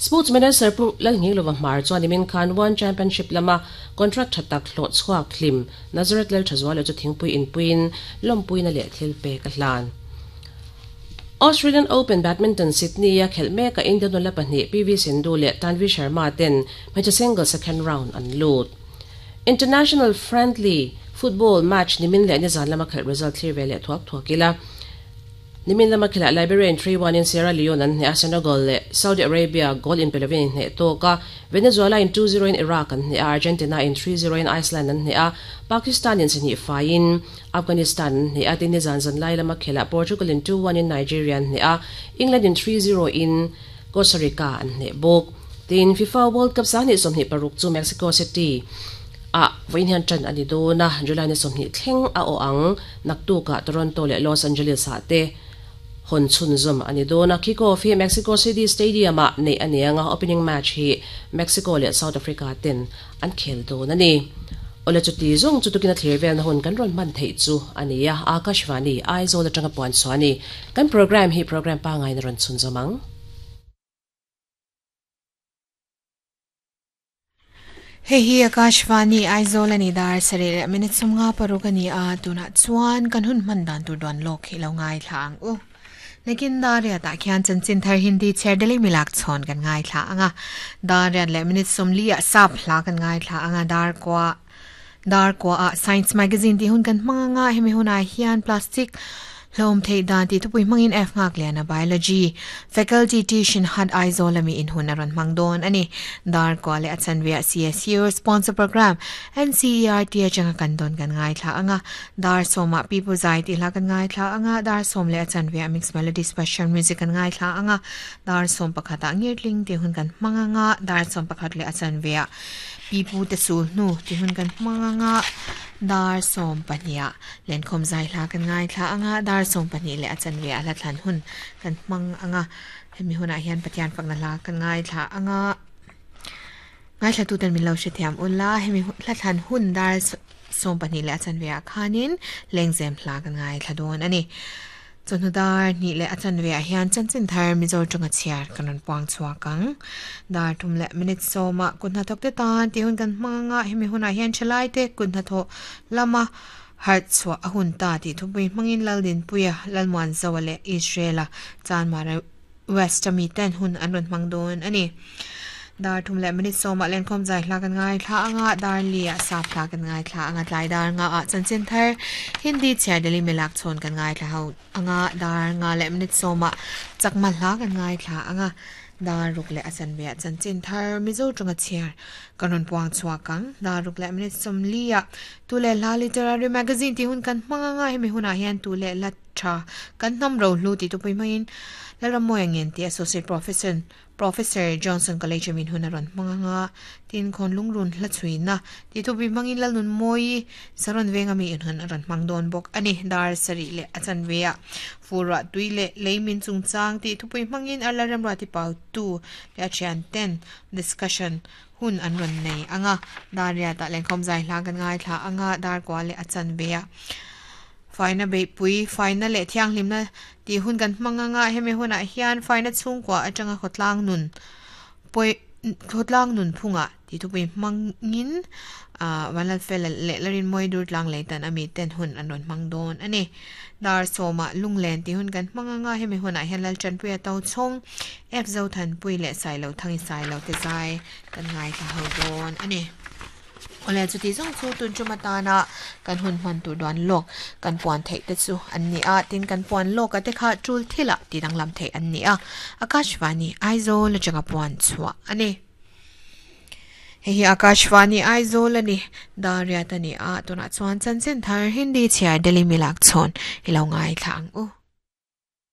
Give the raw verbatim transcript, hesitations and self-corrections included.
Sports Minister Pu Lalnghinglova Hmar chuan nimin khan One Championship lama contract tha tak hlawh chhuak hlim Nazareth Lalthazuala chu thingpui inpuiin lawmpuina leh thil pek a hlan. Australian Open Badminton Sydney a khelh mek a Indian nula pahnih P V Sindhu leh Tanvi Sharma ten hmeichhe single second round an lut. International friendly football match nimin leh nizan lama khelh result thlir ve leh thuak thuak ila. Nimin lama khela Liberia in three one in Sierra Leone an hne a Senegal leh Saudi Arabia goal in pelovin in hne tawk a Venezuela in two zero in Iraq an hne a Argentina in three zero in Iceland an hne a Pakistan in sihnih fai in Afghanistan an hne a tin nizan zan lai lama khela Portugal in two one in Nigeria an hne a England in three zero in Costa Rica an hne bawk. Tin FIFA World Cup sahnih sawmhnih paruk chu Mexico City a vawiin hian tan ani dawn a July ni sawmhnih thleng a aw ang naktuka Toronto leh Los Angeles ah te hon chun zum ani dawn a kick-off hi Mexico City Stadium a nei ani anga opening match hi Mexico leh South Africa ten an khel dawn ani. Ole chu ti zong chu tukina thlir vel na hun kan ron man thei chu ani a Akashvani Aizawl atanga puan chuani kan program hi program pa ngai na ron chun zomang. Hei hi Akashvani Aizawl ani dar sare minute sumnga paruk ani a tuna chuan kan hun man dan tur don lok hi lo ngai thlang u. Lekin daria ta khian chanchin thar Hindi cherdeli milak chon kan ngai thla anga daria le minute sumli a sap hla kan ngai thla anga dar kwa dar kwa a science magazine ti hun kan manga hemi huna hian plastic hlom thei dan ti thupui mangin F ngak liana biology faculty tuition had Aizawl ami in hun aron mangdon ani dar kwa le achanvia C S U sponsor program N C E R T achanga kan don kan ngai thla anga dar soma people zai ti hla kan ngai thla anga dar som le achanvia mix melody special music kan ngai thla anga dar som pakhata ngirtling ti hun kan manganga dar som pakhat le achanvia pipu te sul nu ti hun kan manganga dar som pania len khom zai hla kan ngai thla anga dar som pani le achanve ala thlan hun kan mang anga hemi huna hian pathian fakna hla kan ngai thla anga ngai thla tu ten min lo hre thiam ula hemi hla thlan hun dar som pani le achanve a khanin lengzem hla kan ngai thla don ani chonu dar ni le achanve a hian chanchin thar mizo tonga chiar kanon puang chuakang dar thum le minute soma kunna thok te tan ti hun kan manga hemi huna hian chalai te kunna tho lama har chwa ahun ta ti thupui mangin laldin puya lalmuan zawale Israela chan mara west ami ten hun anron mangdon ani dar thum le minute soma len khom zai hla kan ngai thla anga dar lia sap hla kan ngai thla anga tlai dar nga a chanchin thar Hindi cherdeli milak chon kan ngai thla ho anga dar nga le minute soma chakma hla kan ngai thla anga dar ruk le achan ve chanchin thar mizo tonga chiar kanon puang chuakang dar ruk le minute som lia tule la literary magazine ti hun kan manga nga hemi huna hian tule la tha kan nam ro hlu ti tu pui main laramoy angin ti associate professor Professor Johnson College min hunaron manga tin khon lungrun hla chuina ti thu bi mangin lalnun moi saron venga mi in hunaron mangdon bok ani dar sari le achan vea fura tuile leimin chungchang ti thupui mangin alaram rati pau tu le achian ten discussion hun an ron nei anga daria ta lengkhom zai hla kan ngai thla anga dar kwa le achan vea faina be pui faina le thiang hlimna ti hun kan manga nga hemi huna hian faina chungkwa atanga khotlang nun poi khotlang nun phunga ti thu pui mangin a wanal fel le larin moi dur tlang leitan ami ten hun anon mangdon ani dar soma lunglen ti hun kan manga nga hemi huna hian lal chan puya to chong f zo than pui le sai lo thangi sai lo te zai kan ngai ta ho don ani ole chu ti zong chu tun chuma ta na kan hun man tu don lok kan puan thei te chu an ni a tin kan puan lok ate kha tul thila ti dang lam thei an ni a Akashvani Aizawl changa puan chua ani he hi Akashvani Aizawl ani daria tani a tuna chuan chanchin thar Hindi chiar Delhi milak chon hilo ngai thlang u.